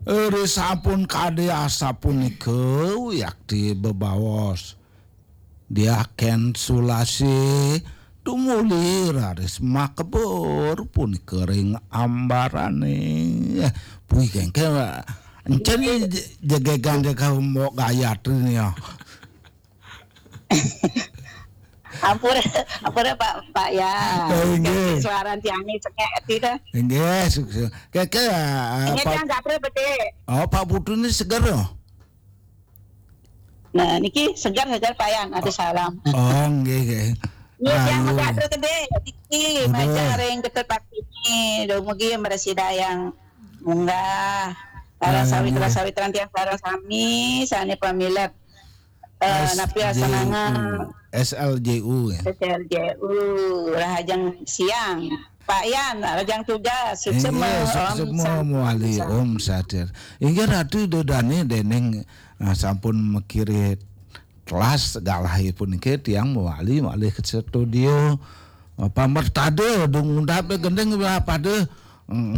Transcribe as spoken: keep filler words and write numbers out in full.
Ri sampun kadi asapunika wiakti bebaos. Diaken Sulasi tumuli raris makebur punika ring ambarane. Puih kengke encen jegegan deka Mbok Gayatri nih ya. Ampun, ampun Pak, Pak ya. Eh, inggih. Suaran tiangnya cengek tidak. Inggih, sukses. Keke ah, Ini Pak yang gak betul. Oh, Pak Putu ini seger loh. Nah, niki segar-segar Pak Yan, ada salam. Oh, nggih nggih. Iya, yang Ayu. Pak Dr. Gede, niki Aduh. Maja ring Dr. Pak ini, dumugi mresida yang munggah. Sareng Ayu. Sawitra Sawitran tiang sareng sami, sane pamilet eh, S napi J U. asanana S L J U ya. S L J U, rahajeng siang. Pak Yan, rahajeng tugas, Inggih, suksema, suksema Om, mawali Sat. Om Satir. Inggih Ratu Ida Dane dening ah, sampun makiri kelas galahipun niki tiang mawali malih ke studio. Ah, pamertada dung undap gending pada mm,